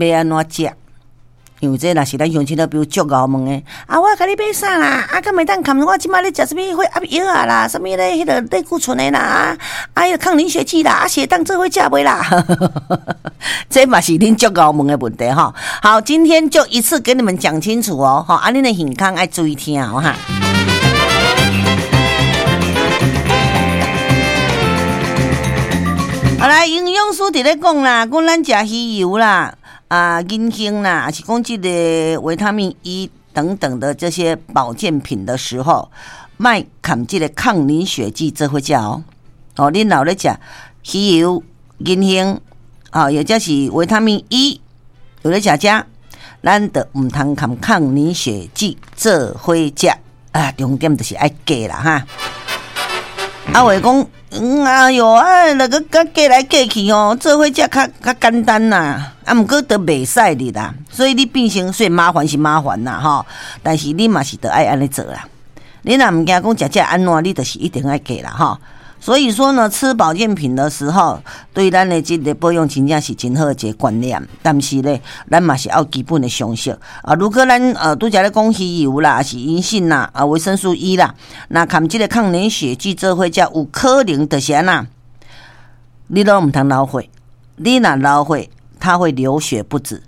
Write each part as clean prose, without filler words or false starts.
欲按怎食？因為這若是咱鄉親老朋友足𠢕問的，啊，我共你買啥啦？啊，敢會當含我這擺咧食啥物血壓藥仔啦？啥物咧？彼个類固醇的啦？啊，彼个抗凝血劑啦？啊，是會當做伙食袂啦？這嘛是恁足𠢕問的問題吼。好，今天就一次給你們講清楚哦。吼，啊，恁的耳孔愛注意聽哦哈。好來，營養師佇咧講啦，講咱食魚油啦。啊，銀杏啦，抑是講這个維他命 E 等等的這些保健品的時候，莫含這个抗凝血劑做伙食哦。哦，恁若咧食魚油、銀杏，啊，或者是維他命 E，有咧食這，咱就毋通含抗凝血劑做伙食。啊，重點就是愛加啦哈。啊，話講，哎喲，啊，那個佮過來過去吼，做伙食較較簡單啦。啊，毋過都袂使哩啦，所以你變成雖然麻煩是麻煩啦吼，但是你嘛是得愛按呢做啦。你若毋驚講食食按怎，你就是一定愛加啦吼。所以說呢，吃保健品的時候，對咱的這個保養真正是真好的一個觀念。但是呢，咱嘛是要基本的常識啊。如果咱拄才咧講魚油啦，抑是銀杏啦，啊維生素 E 啦，若含這個抗凝血劑做伙食，有可能就是按怎，你攏毋通流血，你若流血，它會流血不止。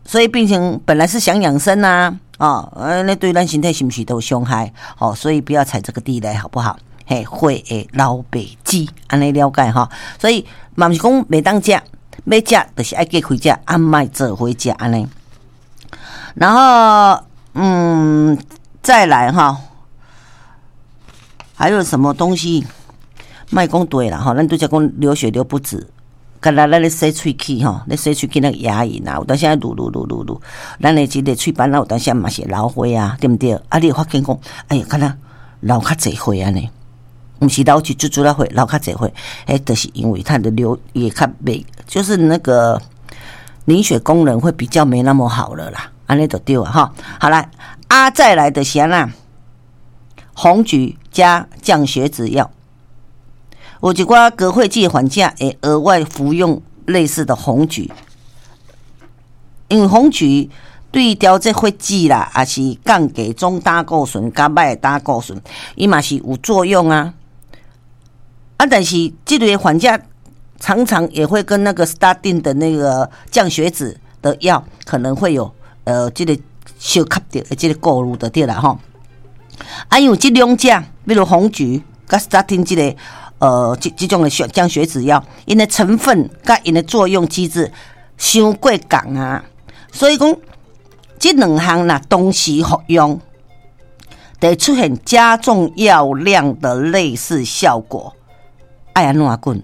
所以變成本來是想養生啊，哦，那對咱身體是毋是都有傷害？哦，所以不要踩這個地雷，好不好？嘿，血會流袂止，按呢了解吼。所以嘛毋是講袂當食，欲食就是愛隔開食，啊莫做伙食按呢。然後，再來哈，還有什麼東西？莫講對啦吼，咱拄才講流血流不止，敢若咱咧洗喙齒吼，咧洗喙齒那個牙齦啊，有當時愛滷滷滷滷滷，咱的這個喙板仔有當時嘛是會流血啊，對毋對？啊，你會發現講，哎呀，敢若流較濟血按呢。毋是流一注注仔血，流較濟血，彼就是因為它的流也較袂，就是那個凝血功能會比較沒那麼好了啦，按呢就對啊吼。好來，啊再來就是按怎，紅橘加降血脂藥，有一寡高血脂患者會額外服用類似的紅橘，因為紅橘對調節血脂啦，抑是降低總膽固醇、佮歹膽固醇，伊嘛是有作用啊。啊，但是這類患者常常也會跟那個 statin 的那個降血脂的藥可能會有這個相合著的這個顧慮就對啦吼。啊，因為這兩者，比如紅橘佮 statin 這個這種的降血脂藥，𪜶的成分佮𪜶的作用機制傷過仝啊，所以講這兩項若同時服用，會出現加重藥量的類似效果。愛按怎緊，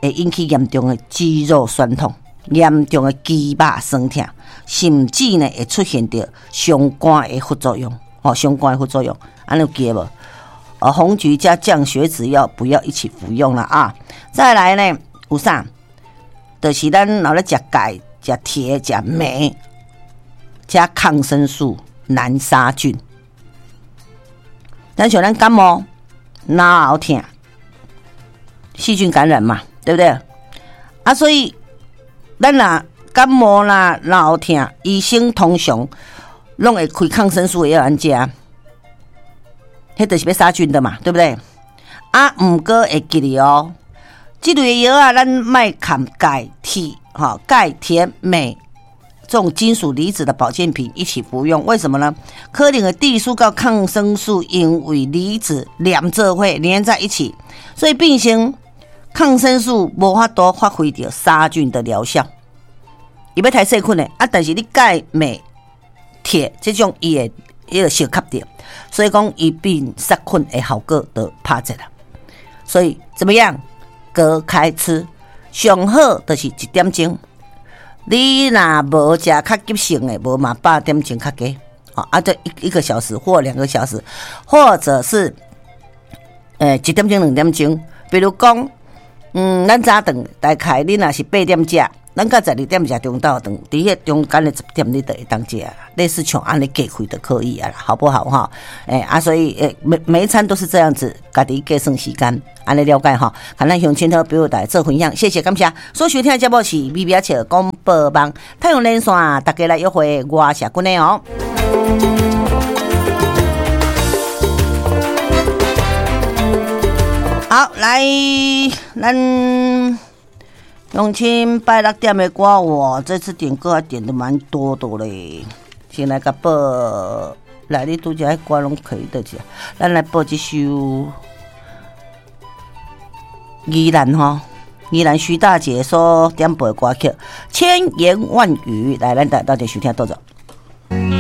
會引起嚴重的肌肉痠痛、嚴重的肌肉酸痛，甚至呢會出現著相關的副作用。哦，相關的副作用，按呢有記得無？紅橘加降血脂藥不要一起服用了啊！再來呢，有啥？就是咱若咧食鈣、食鐵、食鎂、加抗生素難殺菌。咱像咱感冒、腦喉疼。細菌感染嘛，對不對？啊，所以咱若感冒啦、腦喉疼，醫生通常攏會開抗生素的藥咱食，彼就是欲殺菌的嘛，對不對？啊，毋過會記得哦，這類藥仔，咱莫含鈣、鐵、吼鈣、鐵、鎂這種金屬離子的保健品一起服用，為什麼呢？可能會抵觸到抗生素，因為離子連做伙連在一起，所以變成抗生素無法度發揮著殺菌的療效。伊欲刣細菌的啊，但是你鈣、鎂、鐵這種伊會彼個相吸著，所以講伊變殺菌的效果就拍折啦。所以怎麼樣？隔開吃，上好就是一點鐘。你若無食較急性的，無嘛8點鐘較低，啊，這一個小時或2個小時，或者是1點鐘2點鐘。比如講，咱早頓大概你若是8點食，咱到12點食中晝頓，佇彼中間的10點你就會當食，類似像按呢計開就可以啊啦，好不好哈？欸啊，所以欸每每一餐都是這樣子，家己計算時間，按呢了解吼。共咱鄉親好朋友大家做分享，謝謝感謝。所收聽的節目是微微仔笑廣播網太陽連線，大家來約會，我是阿君的哦。好，來，咱。鄉親拜六點的歌，我這次點歌還點的蠻多的嘞。先來共報，來你拄才彼歌攏可以的者，咱來報這首宜蘭吼，宜蘭徐大姐所點播的歌曲《千言萬語》，來，咱大家鬥陣收聽，多謝。